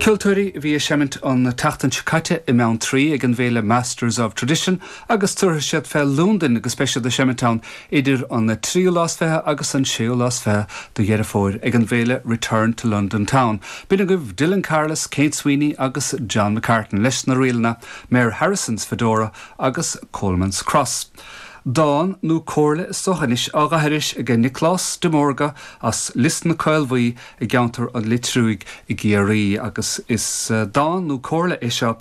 Ceoltóirí a bhí ag seimint an tseachtain seo caite i mBeanntraí ag an bhféile Masters of Tradition agus tabharfaidh siad fé Londain agus beidh siad ag seimint ann idir an tríú lá is fiche agus an séú lá is fiche de Dheireadh Fómhair ag an bhféile Return to London Town. B'in agaibh Dillon Carless, Kate Sweeney agus John McCartan leis na ríleanna Mayor Harrison's Fedora agus Coleman's Cross. Dán nó comhairle is dócha anois á dh'aithris aige Nioclás de Mórdha as Lios na Caolbhuí i gceantar an Leitriúigh i gCiarraí agus is dán nó comhairle é seo a.